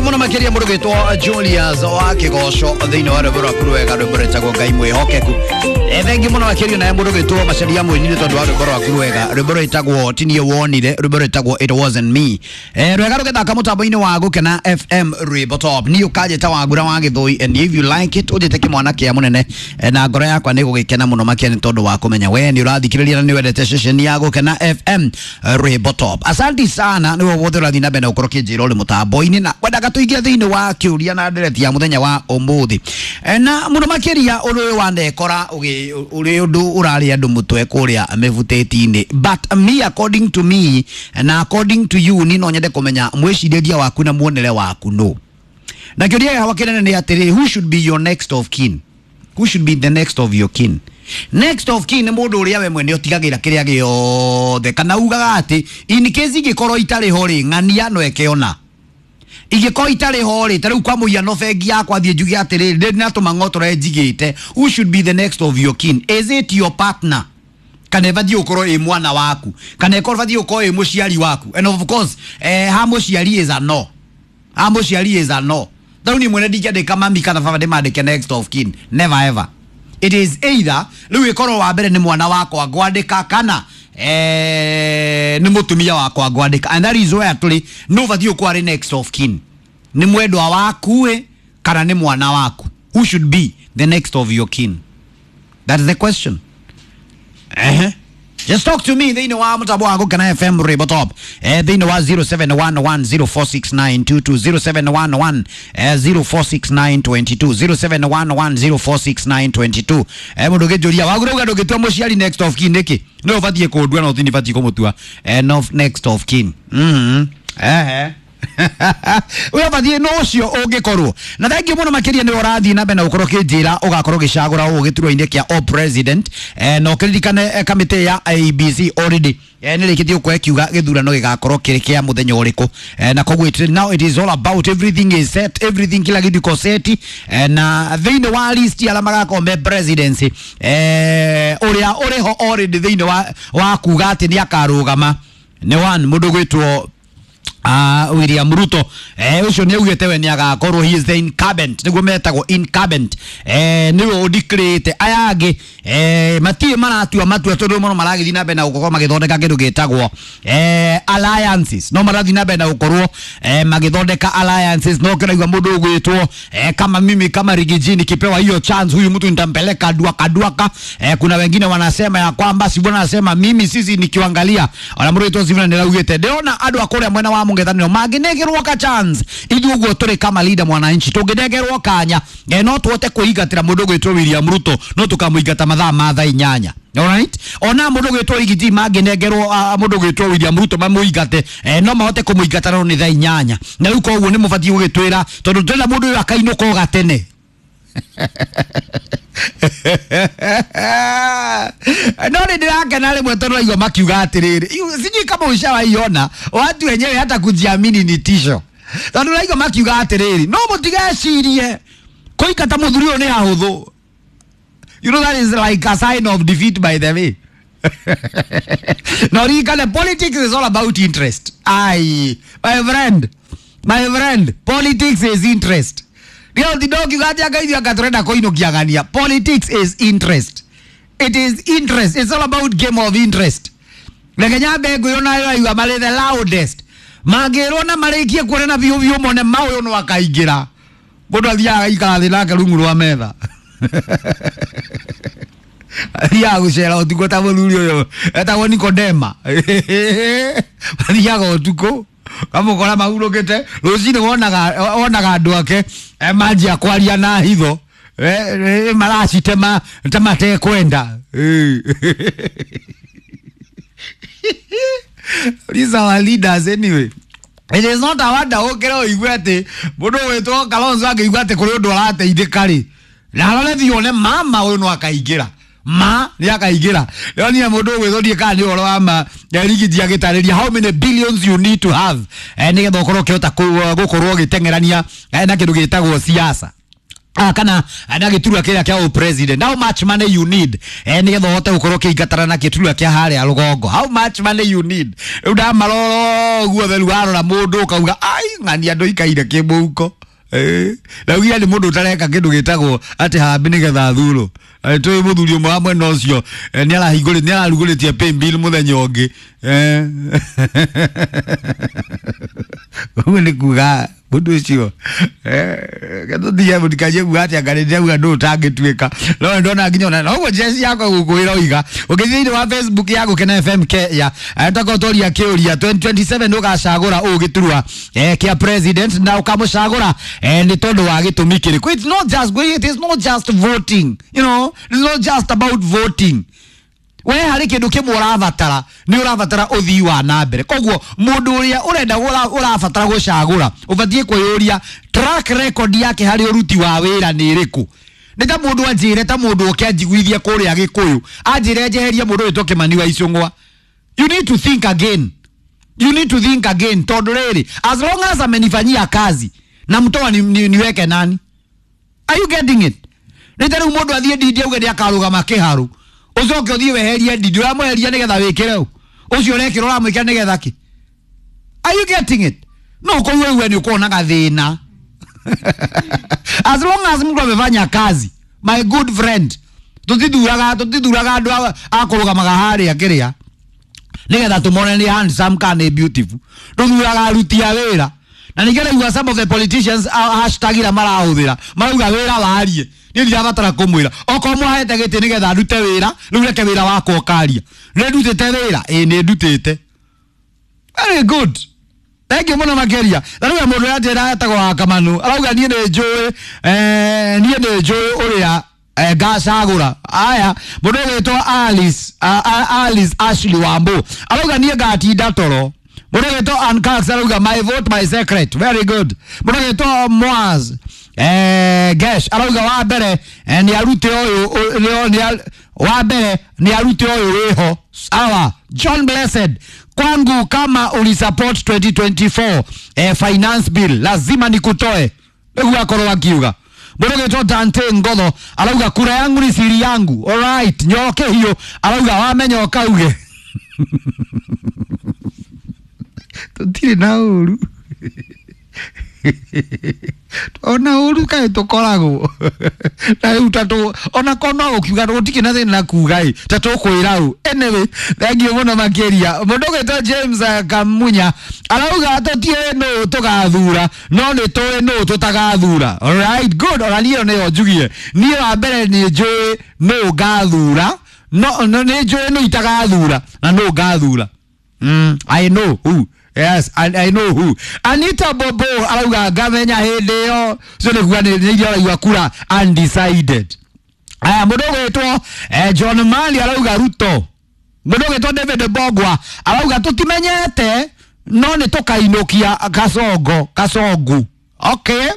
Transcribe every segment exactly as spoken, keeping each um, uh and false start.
Muno makiria mundu gwitwo Julius wa Kigoco thiini wa rwimbo rwaku rwega, rwimbo rwitagwo Ngai Mwihokeku. Eh, thengi muno makiria naye mundu gwitwo Macaria Mwinire tondu wa rwimbo rwaku rwega, rwimbo rwitagwo Tinie Wonire, rwimbo rwitagwo It Wasn't Me. Eh, rwega rugithaka mutambo-ini wa Gukena F M Rwimbo Top. Ni ukanjita Wangura wa Githui, and if you like it unjite kimwana kia munene, eh, na ngoro yakwa ni gugikena muno makiria ni tondu wa kumenya we ni urathikiriria na ni wendete ceceni ya Gukena F M Rwimbo Top. Asanti sana ni wothe urathi na mbere na ukorwo kinjira uri mutambo-ini na kwendaga tuingire thiini wa kiuria na ndereti ya muthenya wa umuthi. E, na muno makiria undu uyu wanekora uri undu urari andu mutwe kuria mivuteti-ini, but me according to me na according to you ni no nyende kumenya mwiciriria waku na muonere waku no. Na kiuria gĩakwa kĩnene nĩ atĩrĩ, who should be your next of kin? Who should be the next of your kin? Next of kin nĩ mũndũ ũrĩa we mwene ũtigagĩra kĩrĩa gĩothe, kana ugaga atĩ in case ingĩkorwo itarĩ ho rĩ, ng'ania no eke ona ingĩkorwo itarĩ ho rĩ, ta rĩu kwa mũhiano bengi yakwa thiĩ njuge atĩrĩrĩ, ndĩ na tũmang'otore njigĩte. Who should be the next of your kin? Is it your partner? Kana ĩbatiĩ gũkorwo ĩ mwana waku, kana ĩkorwo ĩbatiĩ gũkorwo ĩ mũciari waku? And of course, eh, ha mũciari is a no, ha mũciari is a no. Rĩu niĩ mwene ndingĩandĩka mami kana baba ndĩmandĩke next of kin, never ever. It is either rĩu ĩkorwo wa mbere nĩ mwana wakwa ngwandĩka, kana eh, nĩ mũtumia wakwa ngwandĩka. And that is where tũrĩ, no ũbatiĩ gũkorwo arĩ next of kin, nĩ mwendwa waku ĩ kana nĩ mwana waku. Who should be the next of your kin? That is the question. Eh, just talk to me thĩinĩ wa mũtambo wa Gukena F M Rwimbo Top, eh, thĩinĩ wa zero seven one one zero four six nine two two, zero seven one one zero four six nine two two, zero seven one one zero four six nine two two. Eh, mũndũ ũngĩnjũria Wagura uga ndũngĩtua mũciari next of kin nĩkĩ? No ũbatiĩ kũndua no tini batiĩ kũmũtua eh, no next of kin. Mhm. Eh. Uya bathie no ucio ungikorwo na thengi muno makiria ni urathie na mbere na ukorwo kinjira ugakorwo gicagura u giturwa-ini kia o president, eh, na ukiririkane kamite ya I B C already eh, nirikitie gukorwo ikiuga githurano gigakorwo kiri kia muthenya uriku, eh, na koguo it, now it is all about everything is set, everything kila kitu iko set, eh, na thiini wa list ya magakorwo me presidency, eh, uria uriho already thiini wa, wa kuga ati ni akarugama ni one mundu gwitwo Uh, William Ruto. Eh, ucio ni augite we ni agakorwo he is the incumbent, niguo metagwo incumbent, eh, niwe udeclarete aya angi eh, matie maratua matua tondu mono maragithi na mbere na gukorwo magithondeka kindu gitagwo eh, alliances. No marathi na mbere na gukorwo eh, magithondeka alliances. No kiraigua mundu ugwitwo eh, kama mimi kama Rigiji nikipewa hiyo chance huyu mtu nitampeleka duaka duaka. Eh, kuna wengine wanasema ya kwamba si bwana anasema mimi sisi nikiangalia ona mundu witwo Sivuna niraugite ndirona andu akuria mwena wa mungethaniro manginegerwo ka chance ithuĩ ũguo tũrĩ kama leader mwananchi tũngĩnengerwo kanya, eh, no tũhote kwĩingatĩra mũndũ ũgwĩtwo William Ruto, no tũkamũingata mathaa ma thaa inyanya. Alright, ona mũndũ ũgwĩtwo Rigiji mangĩnengerwo mũndũ ũgwĩtwo William Ruto mamũingate, eh, no mahote kũmũingata no nĩ thaa inyanya. Na rĩu koguo nĩ mũbatiĩ gũgĩtwĩra tondũ twĩna mũndũ ũyũ akainũka o gatene. No nĩ ndirakena rĩmwe tondũ raigua makiuga atĩrĩrĩ, sijui kama ushawaiona watu wenyewe hata kujiamini ni tisho, tondũ raigua makiuga atĩrĩrĩ, no mũtigecirie kũingata mũthuri ũyũ nĩ hahũthũ. You know that is like a sign of defeat, by the way. No ririkane, politics is all about interest. Ai, my friend, my friend, politics is interest. Ndio ndindokiuga atĩ anga ithuĩ anga tũrenda kũinũkiagania. Politics is interest. It is interest. It's all about game of interest. Reke nyambe ngũyũ nayo raigua marĩ the loudest. Mangĩrwo na marĩkie kuonana biũ biũ mone ma ũyũ no akaingĩra. Mũndũ athiaga agaikara thĩ nake rungu rwa metha. Athiaga gũcera ũtukũ ta mũthuri ũyũ etagwo Nikodema. Athiaga ũtukũ kamũkora mahurũkĩte, rũcinĩ wonaga wonaga andũ ake eh, manjia kwaria na hitho, eh, maracitema ta matekwenda. These are our leaders anyway. It is not a wonder ũkĩra ũigue atĩ mũndũ ũgwĩtwo Kalonzo angĩigua atĩ kũrĩ ũndũ arateithĩka rĩ, na arore thiĩ one mama ũyũ no akaingĩra, ma nĩ akaingĩra. Ndĩronire mũndũ ũgwĩtwo ndiĩ kana nĩ ũhoro wa ma Rigiji agĩtarĩria how many billions you need to have, eh, nĩgetha ũkorwo ũkĩhota gũkorwo ũgĩteng'erania, eh, na kĩndũ gĩtagwo siasa. Ah, kana na giturwa kiria kia president. How much money you need eh nigetha uhote gukorwo kiingatana na giturwa kia haria rugongo? How much money you need? Riu ndamarora guo theru warora mundu ukauga ai ng'ania andu ikaire kimuhuko. Eh naugia ni mundu utareka kindu gitagwo ati hambi nigetha thuro. Twi muthuri umwe wa mwena ucio ni arahingũrĩtie ni ararugũrĩtie pay bill muthenya ũngĩ. Eh ũguo nĩ kuga mundu ucio eh gatũtige mũtikarie kuga atĩ anga nĩndĩrauga ndũ ũtangĩtuĩka no ndona nginya ona noguo njeci yakwa gũkwĩra oiga ũngĩthiĩ thĩinĩ wa Facebook ya Gũkena F M Kenya twakorwo tworia kĩũria twenty twenty-seven ũgacagũra ũũ gĩturwa eh kĩa president na ũkamũcagũra eh nĩ tondũ wa gĩtũmi kĩrĩkũ. It's not just it is not just voting, you know, it's not just about voting. We harĩ kĩndũ kĩmwe ũrabatara nĩ ũrabatara ũthii wa na mbere. Koguo mũndũ ũrĩa ũrenda ũrabatara gũcagũra ũbatiĩ kwĩyũria track record yake harĩ ũruti wa wĩra nĩ ĩrĩkũ. Nĩ ta mũndũ anjĩre ta mũndũ ũke anjiguithie kũrĩa Gĩkũyũ anjĩre njeherie mũndũ wĩtwo Kĩmani wa Icũng'wa. You need to think again, you need to think again tondũ rĩrĩ as long as amenifanyia kazi na mtoa ni, ni, niweke nani? Are you getting it? Nĩ ta rĩu mũndũ athiĩ Ndindi auge nĩ akarũgama kĩharu ucoke uthie weherie Ndindi uramweheria nigetha wikire ucio urekira uramwikira nigetha ki? Are you getting it? No koguo we ni ukona gathina. As long as mtu amefanya kazi, my good friend, tutithuraga tutithuraga andu akurugamaga haria kiria nigetha tumone ni handsome kana ni beautiful. Tuthuraga aruti a wira na ningeraigua some of the politicians hashtag ira marahuthira marauga wira warie. Niĩ ndirabatara kũmwĩra okorwo mwahete gĩtĩ nĩgetha ndute wĩra rĩu reke wĩra wakwa ũkaria. Nĩ ndutĩte wĩra? Ĩĩ nĩ ndutĩte. Very good, thank you mũno makĩria. Na rĩu mũndũ ũrĩa njĩra etagwo wa Kamanu arauga niĩ nĩ njũĩ eh niĩ nĩ njũĩ ũrĩa ngacagũra. Aya mũndũ ũgwĩtwo Alice Alice Ashley Wambo arauga niĩ ngatinda toro. Mũndũ ũgwĩtwo Ann Cox arauga my vote my secret. Very good. Mũndũ ũgwĩtwo Moaz eh Gesh arauga wa mbere ni arute uyu ni wa mbere ni arute uyu wiho. Sawa. John Blessed, kwangu kama ulisupport twenty twenty-four eh, finance bill lazima nikutoe. Niguo akorwo akiuga. Mũndũ ũgwĩtwo Dante Ngotho arauga kura yangu ni siri yangu. All right, nyoke hiyo arauga wamenya ukauge. Tutire na uru ona uru kaĩ tũkoragwo na rĩu ta ona korwo no ũkiuga gũtikĩ na thĩna kuga ĩ ta tũkwĩra ũ. Anyway, thank you mũno makĩria. Mũndũ ũgwĩtwo James Kamunya arauga tũtiũĩ nũ tũgathura no nĩ tũĩ nũ tũtagathura. All right, good. Ona niĩ nĩyo njugie niĩ wa mbere nĩ njũĩ nũ ngathura no nĩ njũĩ nũ itagathura na nũ ngathura. Mm, I know who. Yes, I, I know who. Anita Bobo arauga ngamenya hĩndĩ ĩyo cio nĩ kuga nĩ iria araigua kura undecided. Aya mũndũ ũgwĩtwo eh, John Mali arauga Ruto. Mũndũ ũgwĩtwo David Bogwa arauga tũtimenyete no nĩ tũkainũkia Kasongo Kasongu. Okay.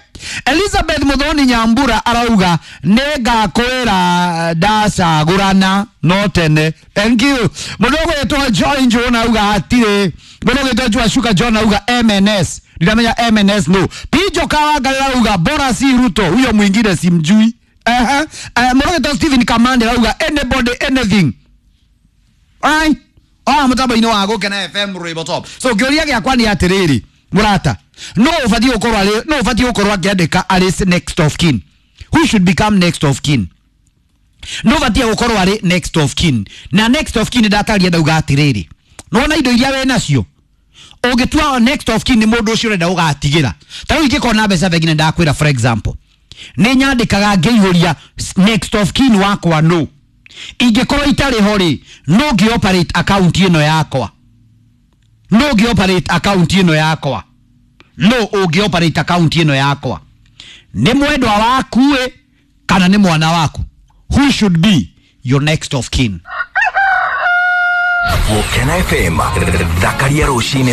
Elizabeth Muthoni Nyambura arauga nĩ ngakwĩra ndacagũrana no tene. Thank you. Mũndũ ũgwĩtwo Joy Njũna arauga hatirĩ. Mũndũ ũgwĩtwo Joa Shuka John arauga M N S. Ndiramenya M N S no. Pijo Kawanga arauga bora si Ruto, huyo mwingine simjui. Eh eh mũndũ ũgwĩtwo Stephen Kamande arauga anybody anything. Alright. Ah mũtambo-inĩ wa Gũkena F M Rwĩmbo Top. So kĩũria gĩakwa nĩ atĩrĩrĩ mũrata, no ũbatiĩ gũkorwo arĩ no ũbatiĩ gũkorwo akĩandĩka arĩ next of kin. Who should become next of kin? No ũbatiĩ gũkorwo arĩ next of kin. Na next of kin ndataria ndauga atĩrĩrĩ nĩwona indo iria wĩ nacio ũngĩtua next of kin nĩ mũndũ ũcio ũrenda ũgatigĩra. Ta rĩu ingĩkorwo na mbeca bengi nĩ ndakwĩra for example nĩ nyandĩkaga ngĩihũria next of kin wakwa no ingĩkorwo itarĩ ho rĩ no ngĩ operate account ĩno yakwa no ngĩ operate account ĩno yakwa no ũngĩ operate account ĩno yakwa nĩ mwendwa waku ĩ kana nĩ mwana waku. Who should be your next of kin? Gũkena F M thakaria rũcinĩ.